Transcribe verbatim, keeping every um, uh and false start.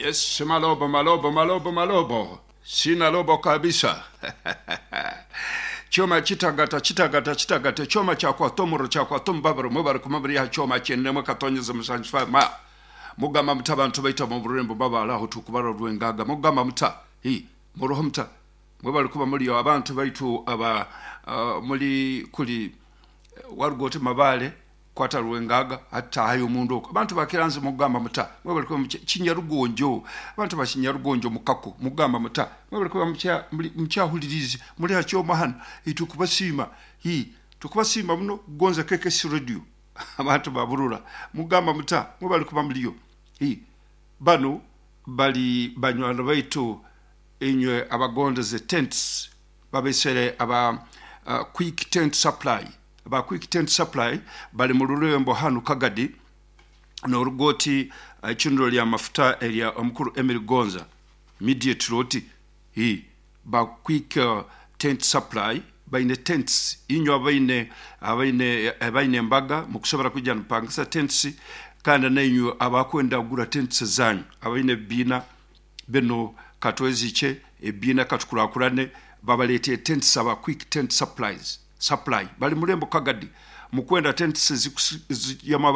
Yes, malobo malobo malobo malobo, sina lobo kabisa. Choma chitagata chitagata chitagata choma chakwatomuro chakwatomubabaro mubari kumabiri ya choma chennemwe katonyeza musanjifa ma mugamba muta abantu baita mu burembo babalaho tukubara rwengaga mugamba muta hi muroho muta mwebali kuba muri abantu baitu aba uh, muri kuli warugoti mabale kwata rwengaga hata hayo mundu oko abantu bakiranze mugamba muta mwebali kuba kinyarugonjo abantu bakinyarugonjo mukako mugamba muta mwebali kuba mukya mukyahulirizi muri hakyoma hano itukubasiima hi tukubasiima muno gonza K K S radio abantu baburura mugamba muta mwebali kuba muliyo hi bano bali banywana baitu inywe abagondeze tents babesere aba uh, quick tent supply aba quick tent supply bali mu rurembo hano Kagadi n'orugoti icundiro lya mafuta erya omukuru Emily Gonza immediate roti hi ba quick uh, tent supply baine tents inywe abaine abaine abaine embaga mukusobora kujja nipangisa tents kandi nainywe abakwenda kugura tents zanyu abaine bina bino katweziche ebina katukurakurane babalete tents aba quick tent supplies supply bali mulembo Kagadi mukwenda tents yama